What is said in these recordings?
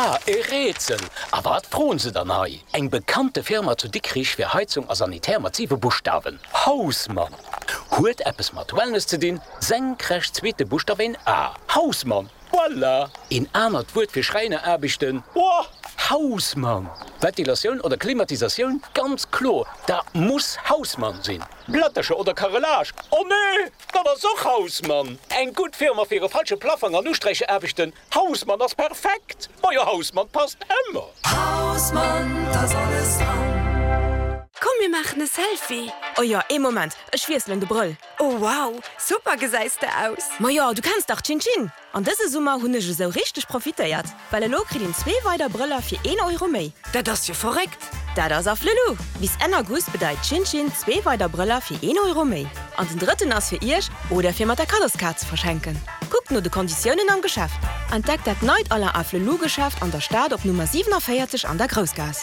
Ah, e Rätsel! A wat froen se dann hei? Eng bekannte Firma zu Dikrich fir Heizung a Sanitär mat siwe Buschtawen, Hausmann! Huet eppes mat Wellness ze dinn, senkrecht zweete Buschtaf een A, Hausmann! Voilà! Een anert Wuert fir Schräineraarbechten, Boah! Hausmann! Ventilatioun oder Klimatisatioun, ganz kloer, dat muss Hausmann sinn! Plättercher oder Carrelage, oh nee, dat ass och Hausmann! Eng gutt Firma fir e falsche Plaffang an Usträicheraarbechten, Hausmann ass perfekt! Majo Hausmann passt ëmmer! Hausmann, t'ass alles dran! Komm mir maachen e Selfie! Oh jo, ee Moment, ech wiesselen de Brëll. Oh wow, super gesäis de aus! Majo, du kenns dach Chin Chin! An dëse Summer hunn ech esou richteg profitéiert, well elo kritt een zwee weider Brëller fir een Euro méi. Dat ass jo verréckt! Dat ass Afflelou! Bis Enn August bedeit Chin Chin zwee weider Brëller fir een Euro méi. An den drëtten ass fir iech oder fir mat der Kaddoskaart ze verschenken. Kuckt no de Konditiounen am Geschäft. Entdeckt dat neit Alain Afflelou Geschäft an der Stad op Nummer 47 an der Groussgaass.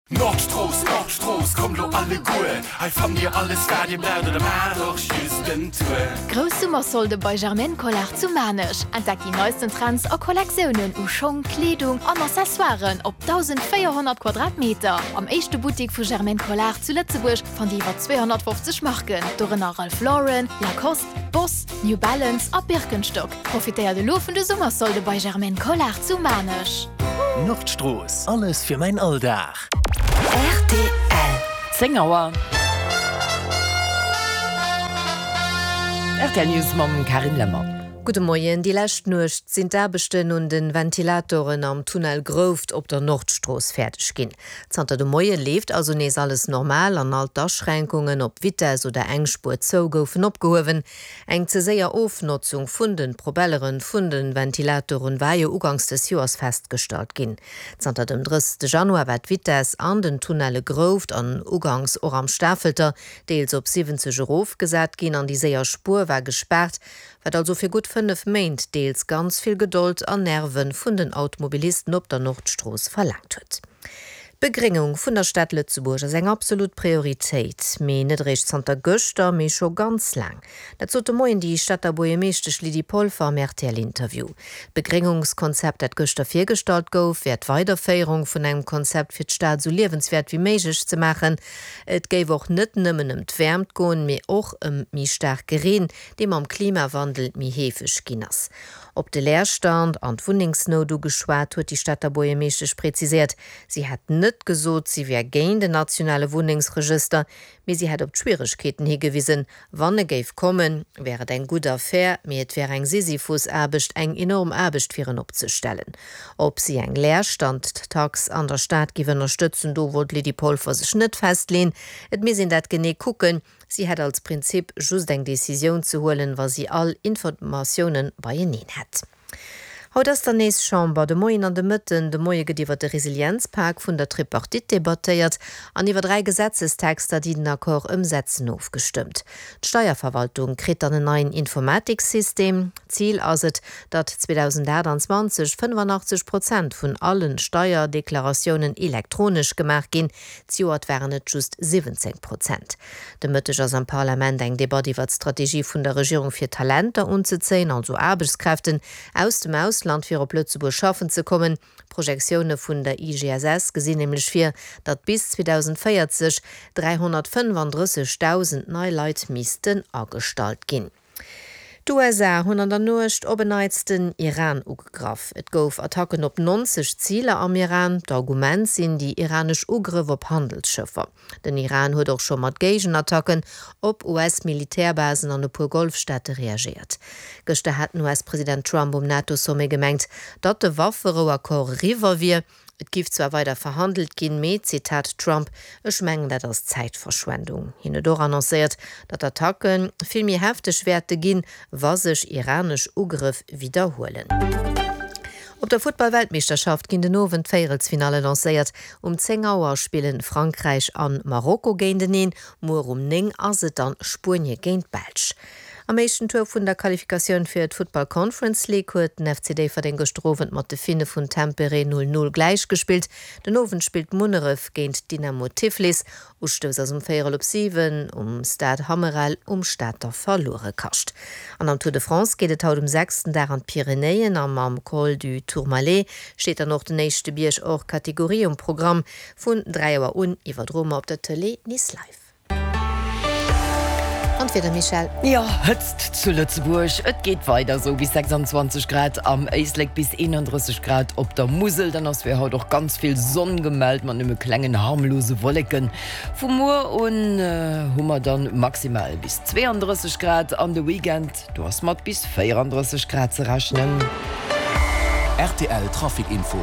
Nordstrooss, Nordstrooss, kommt lo alleguer, hei fannt dir alles wat dir braucht oder maacht och just en Tour. Grouss Summersolde bei Germaine Collard zu Maarnech. Entdeckt déi neisten Trends a Kollektiounen u Schong, Kleedung an Accessoiren op 1.400 Quadratmeter. Am éischte Buttik vu Germaine Collard zu Lëtzebuerg fannt dir iwwer 250 Marken, dorënner Ralph Lauren, Lacoste, Boss, New Balance a Birkenstock. Profitéiert elo vun de Summersolde bei Germaine Collard zu Maarnech. Nordstrooss, alles fir mäin Alldag. Rtl. 10 Auer. Rtl News mam Carine Lemmer. Gudde Moien. Déi lescht Nuecht sinn d'Aarbechten un de Ventilatoren am Tunnel Grouft op der Nordstrooss fäerdeg ginn. Zanter de Moie leeft also nees alles normal an all d'Aschränkungen op Vitess oder eng Spuer zou goufen opgehuewen. Eng ze séier Ofnotzung vun de Propelleren vun de Ventilatoren war jo uganks des Joers festgestallt ginn. Zanter dem 30 Januar war d'Vitess an den Tunnelle Grouft an uganks och am Stafelter deels op 70 erofgesat ginn an déi séier Spuer war gespaart, wat also fir gutt 5 Méint deels ganz vill Gedold an Nerve vun den Automobilisten op der Nordstrooss verlaangt huet. D'Begréngung vun der Stad Lëtzebuerg ass eng absolut Prioritéit, mee net eréischt zanter gëschter, mee scho ganz laang. Dat sot de Moien déi Stater Buergermeeschtesch Lydie Polfer am RTL-Interview. D'Begréngungskonzept, dat gëschter virgestallt gouf, wär d'Weiderféierung vun engem Konzept fir d'Stad esou liewenswäert wéi méiglech ze maachen. Et géif och net nëmmen ëm d'Wäermt goen, mee och ëm méi staarke Reen, dee mam Klimawandel méi heefeg ginn ass. Op de Leerstand an d'Wunnengsnout ugeschwat, huet déi Stater Buergermeeschtesch präziséiert, si hätt net gesot, si wär géint en nationale Wunnengsregëster, mee si hätt op d'Schwieregkeeten higewisen. Wann e géif kommen, wär et eng gutt Affär, mee et wär eng Sisyphusaarbecht, eng enorm Aarbecht fir en opzestellen. Ob si eng Leerstandtax an der Stad géif ënnerstëtzen, do wollt d'Lydie Polfer sech net festleen. Et misst een dat genee kucken. Si hätt als Prinzip just eng Decisioun ze huelen, wa si all Informatiounen beieneen hätt. Haut ass dann nees Chamber, de Moien an de Mëtten. De Moie gëtt iwwer de Resilienzpak vun der Tripartite debattéiert an iwwer 3 Gesetzestexter, déi den Accord ëmsetzen, ofgestëmmt. D'Steierverwaltung kritt dann en neien Informatiksystem. Zil ass et, datt 2028 85 Prozent vun allen Steierdeklaratiounen elektronesch gemaach ginn. Zejoert waren et just 17 Prozent. De Mëtteg ass am Parlament eng Debatt iwwer d'Strategie vun der Regierung fir Talenter unzezéien, also Aarbechtskräften aus dem Ausland fir op Lëtzebuerg schaffen ze kommen. D'Projektioune vun der IGSS gesinn nämlech vir, datt bis 2040 335.000 nei Leit missten agestallt ginn. D'USA hunn an der Nuecht op en Neits den Iran ugegraff. Et gouf Attacken op 90 Ziler am Iran. D'Argument sinn déi iranesch Ugrëff op Handelsschëffer. Den Iran huet och scho mat Géigenattacken op US-Militärbasen an e puer Golfstaate reagéiert. Gëschter hat den US-President Trump um NATO-Sommet gemengt, datt de Wafferouaccord eriwwer wier. Et giff zwar weider verhandelt ginn, mee, Zitat Trump, Ech mengen, dat ass Zäitverschwendung. Hien huet och annoncéiert, datt d'Attacke vill méi hefteg wäerte ginn, wa sech iranesch Ugrëff widderhuelen. Op der Futtball-Weltmeeschterschaft ginn den Owend d'Véierelsfinalle lancéiert. Um 10 Auer spillen Frankräich an Marokko géinteneen. Muer um 9 ass et dann Spuenie géint d'Belsch. Am éischten Tour vun der Qualifikatioun fir d'Futtball Conference League huet den FC Déifferdeng gëschter Owend mat de Finne vun Tampere 0, 0 gläichgespillt. Den Owend spillt Munneref géint Dynamo Tiflis. Ustouss ass um véierel op 7 um Stade Hammerel um Stater Verluerekascht. An am Tour de France geet et haut um sechsten Dag an d'Pyrenäen a mam Col du Tourmalet steet dann och den éischte Bierg hors catégorie um Programm. Vun 3 Auer un iwwerdroe mer op der Tëlee Nice Live. An d'Wieder, Michèle? Jo, Hëtzt zu Lëtzebuerg, et geet weider esou, bis 26 Grad am Éislek, bis 31 Grad op der Musel. Dann ass fir haut och ganz vill Sonn gemellt, mat nëmme klengen harmlose Wolleken. Vu muer un hu mer dann maximal bis 32 Grad an de Weekend Do ass mat bis 34 Grad ze rechnen. Rtl Trafic Info.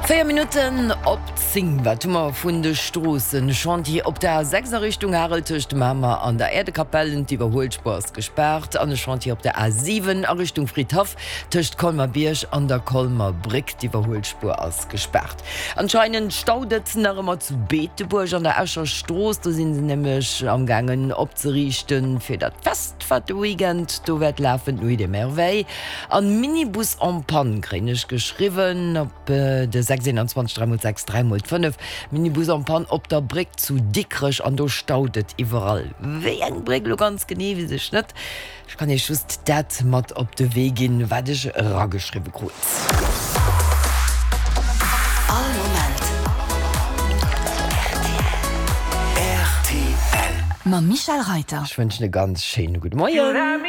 4 Minutten op 10, Wat hu mer vun de Stroossen? Chantier op der A6 a Richtung Harel tëscht Mamer an der Äerdekapell, d'Iwwerhuelspuer ass gespaart. An e Chantier op der A7 a Richtung Fridhaff tëscht Colmer-Bierg an der Colmer Bréck, d'Iwwerhuelspuer ass gespaart. Anscheinend staut et nach ëmmer zu Beetebuerg an der Escher Strooss. Do si se nämlech am gaangen opzeriichten fir dat Fest wat de Weekend do wäert lafen, d'Nuit des Merveilles. An Minibus en panne kréien ech geschriwwen op de 6 21 3 x 6 3 x 5. Minibus en panne op der Bréck zu Dikrech an do staut et iwwerall. Wéi eng Bréck elo ganz genee weess ech net. Ech kann iech just dat mat op de Wee ginn, wat ech erageschriwwe krut. All Moment rtl. Mam Michèle Reiter. Ech wënschen e ganz schéine gudde Moien.